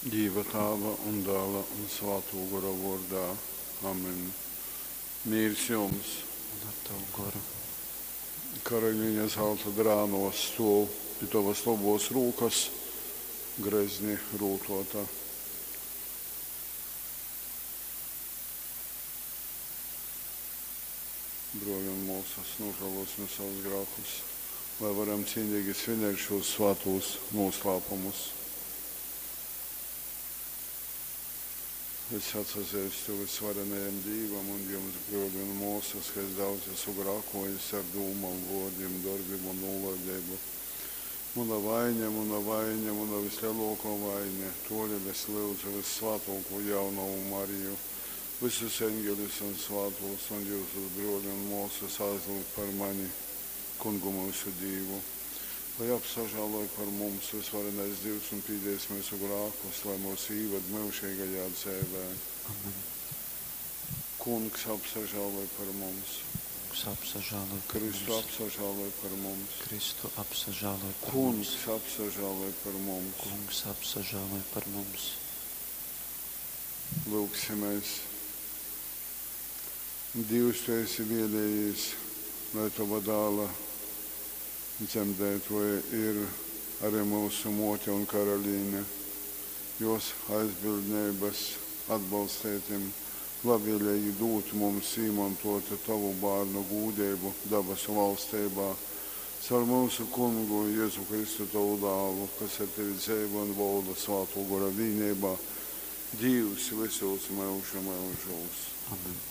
Dīva Tāva un Dāla un Svātō Gora vōrdā. Amen. Mīrs jums! Un ar tavu goru. Karalīne zalta drānos stōv pi tovas lobōs rūkas, grezni rūtōta. Brōli un mōsas, nūžālōsim savus grākus, lai varam cīnīgi svinēt šūs svātūs nūslāpumus. Es atsazeistu vysvarenajam Dīvam un jums, brōli un mōsas, ka es daudz esmu grākōjis ar dūmom, vōrdim, dorbim un nūlaideibu. Muna vaiņa, muna vaiņa, muna vyslelōkō vaiņa. Tōdēļ es lyudzu vyssvātōkū jaunovu Mariju, vysus eņgeļus un svātūs un jyusus, brōli un mōsas, aizlyugt par mani Kungu myusu Dīvu. Lai apsažāloj par mums vysvarenais Dīvs un pīdēs myusu grākus, lai mūs īved myužeigajā dzeivē. Amen. Kungs apsažāloj par mums. Kungs apsažāloj par Kristu mums. apsažāloj par mums. Kristu apsažāloj par Kungs mums. apsažāloj par mums. Kungs apsažāloj par mums. Lūgsimies. Dievs, tu esi vēlējies, lai tava dāla dzemdētoja ir arī mūsu mote un karalīne. Jos aizbildnības atbalstētim labvēlīgi dūt mums īmantot tavu bārnu gūdību dabasu valstībā. Caur mūsu kungu Jēzu Kristu tavu dālu, kas ar tevi dzeivo un valda svāto gora vienībā, Dievs visos mūža mūžos. Amen.